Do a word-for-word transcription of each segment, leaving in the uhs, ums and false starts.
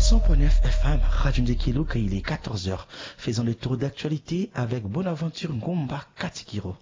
Cent point neuf F M, Radio Ndekeluka, il est quatorze heures. Faisons le tour d'actualité avec Bonaventure Ngomba Katikiro.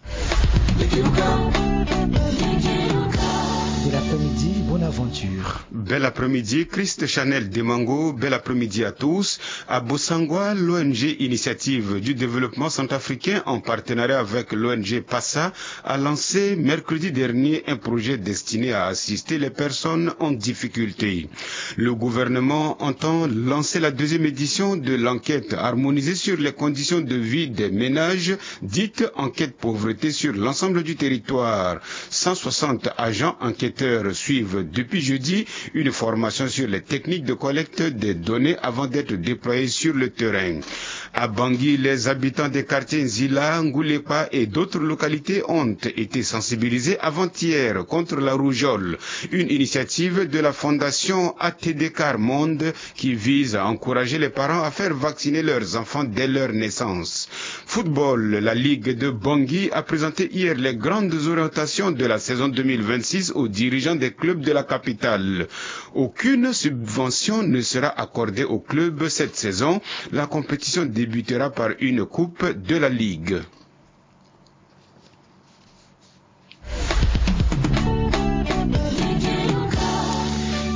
Bel après-midi, Bonaventure. Bel après-midi, Christ Chanel Demango. Bel après-midi à tous. À Bossangwa, l'O N G Initiative du Développement Centrafricain, en partenariat avec l'O N G PASA, a lancé mercredi dernier un projet destiné à assister les personnes en difficulté. Le gouvernement entend lancer la deuxième édition de l'enquête harmonisée sur les conditions de vie des ménages, dite enquête pauvreté, sur l'ensemble du territoire. Cent soixante agents enquêteurs suivent depuis jeudi une formation sur les techniques de collecte des données avant d'être déployés sur le terrain. À Bangui, les habitants des quartiers Nzila, Ngoulepa et d'autres localités ont été sensibilisés avant-hier contre la rougeole, une initiative de la fondation A T D Car Monde qui vise à encourager les parents à faire vacciner leurs enfants dès leur naissance. Football, la Ligue de Bangui a présenté hier les grandes orientations de la saison deux mille vingt-six aux dirigeants des clubs de la capitale. Aucune subvention ne sera accordée au club cette saison. La compétition débutera par une coupe de la Ligue.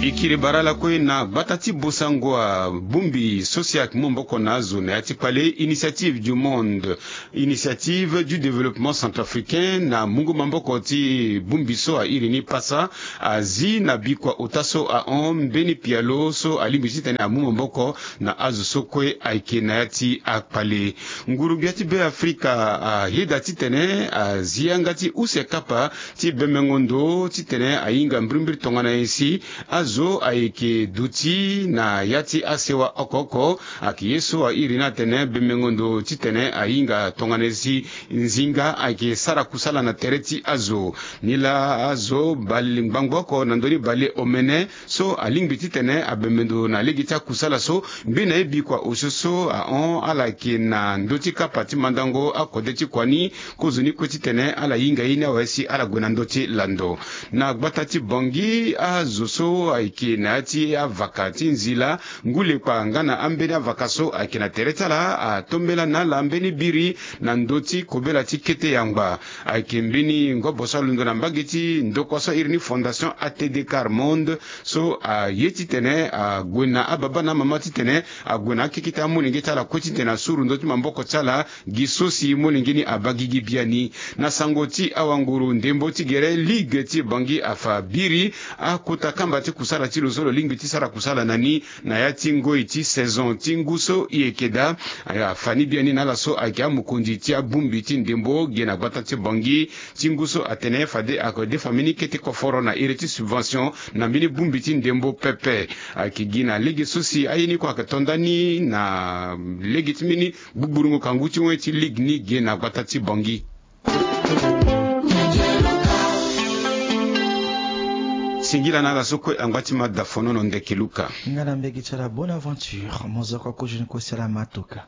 E kiri bara lakue na gbata ti Bossangwa, bongbi so si ayeke mu maboko na azo na ya ti kpale, Initiative du Monde, Initiative du Développement Centrafricain, na mungo maboko ti bongbi so a iri ni PASA, azi na bikua ota so ahon mbeni pialo so alingbi titene amu maboko na azo so kue ayeke na ya ti akpale. Nguru-gbia ti Be Afrika ayeda titene azi yanga ti use kapa ti bemengo ndo titene ahinga mbirimbiri tongana nyen si azo ayeke duti na ya ti asewa oko oko. Ayeke ye so a iri ni atene bemengo ndo titene ahinga tongana nyen si nzinga ayeke sara kusala na tere ti azo. Nilaa azo bale ngbangbo oko na ndö ni bale omene so alingbi titene abembe ndo na lege ti akusala so, mbi na ye bikua osio so ahon ala yeke na ndö ti kapa ti mandango akode ti kua ni, kozoni kue titene ala hinga ye ni awe si ala gue na ndö ti lando. Na gbata ti Bangui, azo so ayeke na ya ti avaka ti Nzila, Ngulekpa nga na ambeni avaka so ayeke na tere ti ala atombela na ala mbeni biri na ndö ti kobela ti kete yangba. Ayeke mbeni ngobo so alondo na mbage ti ndokua so a iri ni Fondation A T D Car Monde, so aye titene ague na ababa na amama titene ague na akeke ti amolenge ti ala kue titene asuru ndö ti maboko ti ala gi so si molenge ni abaa gigi biani. Na sango ti awanguru ndembo ti gere, ligue ti Bangui afa biri akota kamba ti kusala ti lo so lo lingbi ti sara kusala na ni na ya ti ngoi ti saison ti ngu so e yeke daa. Afa ni biani na ala so ayeke amokonzi ti abongbi ti ndembo ge na gbata ti Bangui ti ngu so atene fade adefa mbeni kete koforo na iri ti subvention na mbeni bongbi ti ndembo pepe. Ayeke gi na lege so si aye ni kue ayeke to ndani na lege ti mbeni gbugburungu kangu ti wen ti ligue ni ge na gbata ti Bangui. Singila na ala so kue angba ti mada fonono ndeke luka. Nga na mbege ti ala Bonaventure, mozoko kozoni kue si ala matuka.